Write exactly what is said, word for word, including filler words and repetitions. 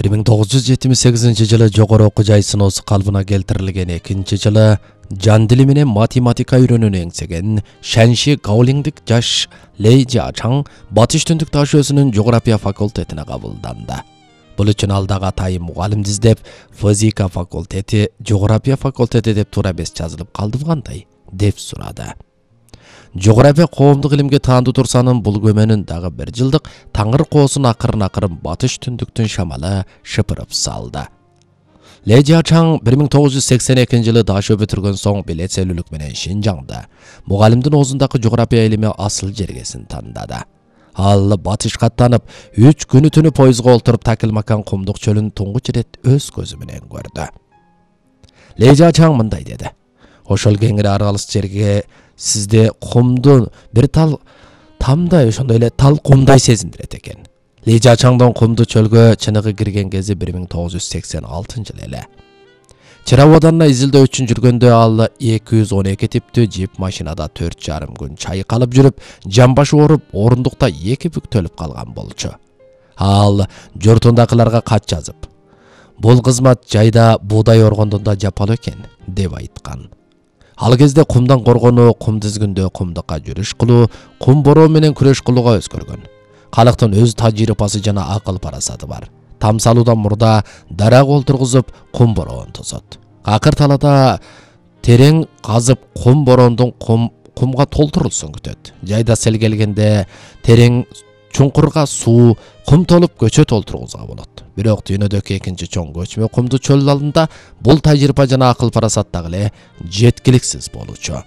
бир миң тогуз жүз жетимиш сегизинчи жылы жогору окуу жай сыноосу калыбына келтирилген экинчи жылы жан дили менен математика үйрөнүүнү эңсеген Шанши Гаолиңдик жаш Лей Жиачаң Батыш Түндүк Таш өзүнүн жография факультетине кабылданды. Бул үчүн ал дагы атайын мугалимди издеп, физика факультети, жография факультети деп туура эмес жазылып калдыбы кандай деп сурады. Жография коомдук илимге таандуу турсанын бул көмөнүн дагы бир жылдык таңыр коосун акырын-акырын Батыш Түндүктүн шамалы шыпырып салды. Лей Жиачаң бир миң тогуз жүз сексен экинчи жылы Дашө бүтүргөн соң билетселүүлүк менен Шинжаңда мугалимдин оозундагы жография илими асыл жергесин тандады. Ал батышка аттанып, үч күнү түнү поездга олтуруп Такилмакан кумдук чөлүн туңгуч ирет өз көзү менен көрдү. Лей Жиачаң мындай деди: "Ошол кеңири аралыс жерге сизде кумду бир тал тамдай, ошондой эле тал кумдай сезиндирет экен." Лей Жиачаңдын кумду чөлгө чыныгы кирген кези бир миң тогуз жүз сексен алтынчы жылы эле. Чыраваданына изилдөө үчүн жүргөндө ал эки жүз он эки типтүү жип машинада төрт жарым күн чайкалып жүрүп, жамбашы ооруп, орундукта эки бүктөлүп калган болчу. Ал жортундакыларга кат жазып, "Бул кызмат жайда буудай оргондон да жапалуу экен" деп айткан. Ал кезде кумдан коргонуу, кум тизгиндөө кумдукка жүрүш кылуу, кум бороо менен күрөш кылууга өзгөргөн. Калктын өз тажрыйбасы жана акыл парасаты бар. Там салуудан мурда дарак олтургузуп, кум бороон тосот. Акыр талада терең казып кум бороондун кум кумга толтурулсун күтөт. Жайда сел келгенде терең чуңкурга суу, кум толуп көчөт олтургузга болот. Бирок дүйнөдөгү экинчи чоң көчмө кумду чөл алдында бул тажрыйба жана акыл парасат дагы эле жеткиликсиз болчу.